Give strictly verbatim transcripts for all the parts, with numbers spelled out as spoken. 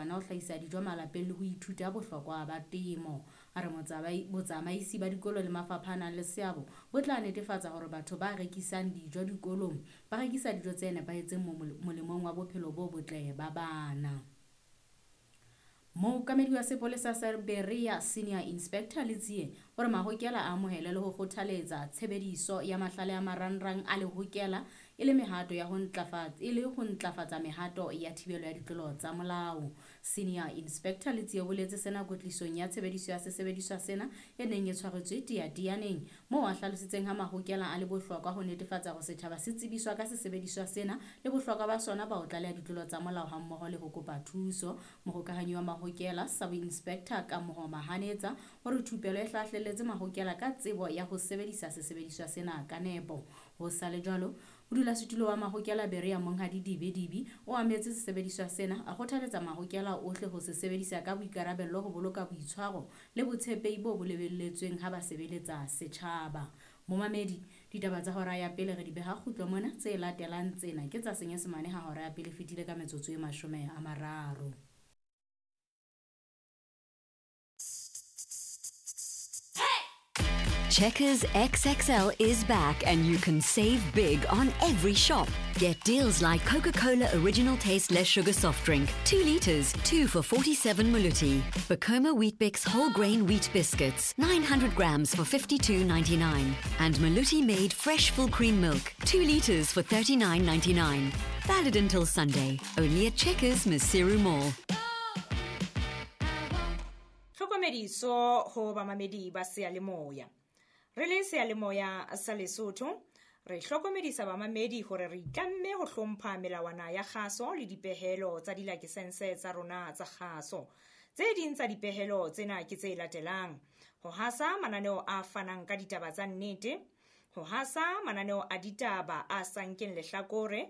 bana ho hlahisa dijo malapeng le ho ithuta bohlokwa ba temo. A re botsamaisi ba dikolo le mafapha a nang le seabo bo tla netefatsa hore batho ba rekisang dijo dikolong ba rekisa dijo tse nepahetseng molemong wa bophelo bo botle ba bana. Mookamedi wa sepolesa sa Berea Senior Inspector Letsie o re mahokela a amohele le ho kgothaletsa tshebediso ya mahlale a marangrang a lehokela e le mehato ya ho ntlafatsa e le ho ntlafatsa mehato ya thibelo ya ditlolo tsa molao. Senior Inspector Letsie o boletse sena kwetlisong ya tshebediso ya sesebediswa sena e neng e tshwaretswe Teatianeng, moo a hlalositseng ha mahokela a le bohlokwa ho netefatsa hore setjhaba se tsebiswa ka sesebediswa sena le bohlokwa ba sona ba ho tlaleha ditlolo tsa molao hammoho le ho kopa thuso. Mohokahanyi wa mahokela Sub Inspector Kamoho Mahanetsa hore thupelo e hlahlelletse mahokela ka tsebo ya ho sebedisa sesebediswa sena ka nepo. Ho sa le jwalo, modulasetulo wa mahokela Berea Monghadi Dibe Dibi o ametse sesebediswa sena, a kgothaletsa mahokela ohle ho se sebedisa ka boikarabello ho boloka boitshwaro le botshepehi bo bo lebelletsweng ha ba sebeletsa setjhaba. Momamedi, ditaba tsa hora ya pele re di beha kgutlo mona, tse latelang tsena ke tsa Senyesemane ha hora ya pele fetile ka metsotso e mashome a mararo. Checkers X X L is back and you can save big on every shop. Get deals like Coca-Cola Original Taste Less Sugar Soft Drink, two litres, two for forty-seven Maluti. Bacoma Weet-Bix Whole Grain Wheat Biscuits, nine hundred grams for fifty-two ninety-nine. And Maluti Made Fresh Full Cream Milk, two litres for thirty-nine ninety-nine. Valid until Sunday, only at Checkers Maseru Mall. Tlhokomediso ho bamamedi ba seyalemoya. Re le seyalemoya sa Lesotho, re hlokomedisa bamamedi hore re itlamme ho hlompha melawana ya kgaso le dipehelo tsa dilakesense tsa rona tsa kgaso. Tse ding tsa dipehelo tsena ke tse latelang: ho hasa mananeo a fanang ka ditaba tsa nnete, ho hasa mananeo a ditaba a sa nkeng lehlakore,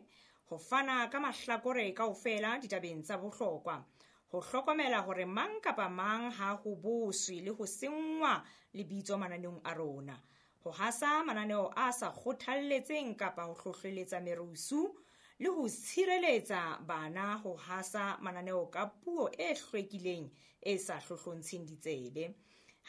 ho fana ka mahlakore kaofela ditabeng tsa bohlokwa, ho hlokomela hore mang kapa mang ha ho boswe le ho senngwa lebitso mananeong a rona, ho hasa mananeo a sa kgothalletseng kapa ho hlohleletsa merusu, le ho tshireletsa bana ho hasa mananeo ka puo e hlwekileng e sa hlohlontsheng ditsebe.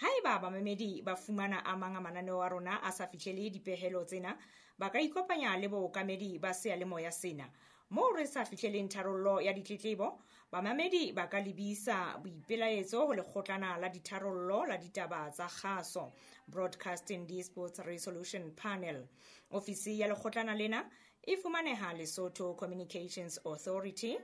Haeba bamamedi ba fumana a mang a mananeo a rona a sa fihlele dipehelo tsena, ba ka ikopanya le bookamedi ba seyalemoya sena. Moo re sa fihleleng tharollo ya ditletlebo, bamamedi ba ka lebisa boipelaetso ho lekgotlana la ditharollo la ditaba tsa kgaso, Broadcasting Disputes Resolution Panel. Ofisi ya lekgotlana lena e fumaneha Lesotho Communications Authority,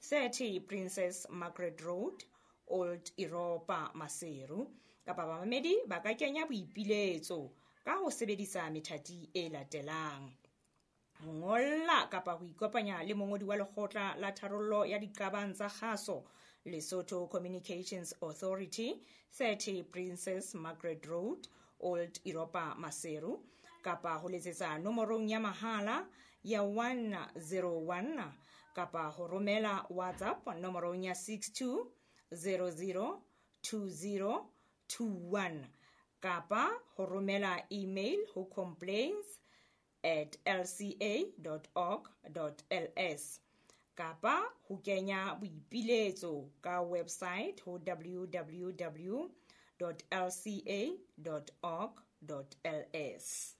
thirty Princess Margaret Road, Old Europa, Maseru. Kapa bamamedi ba ka kenya boipiletso ka ho sebedisa methati e latelang: ho ngolla kapa ho ikopanya le mongodi wa lekgotla la tharollo ya diqabang tsa kgaso, Lesotho Communications Authority, thirty Princess Margaret Road, Old Europa, Maseru, kapa ho letsetsa nomorong ya mahala ya one zero one, kapa ho romela WhatsApp nomorong ya six two zero zero two zero two one, kapa ho romela email ho complaints at l c a dot org dot l s, kapa ho kenya boipiletso ka website ho w w w dot l c a dot org dot l s.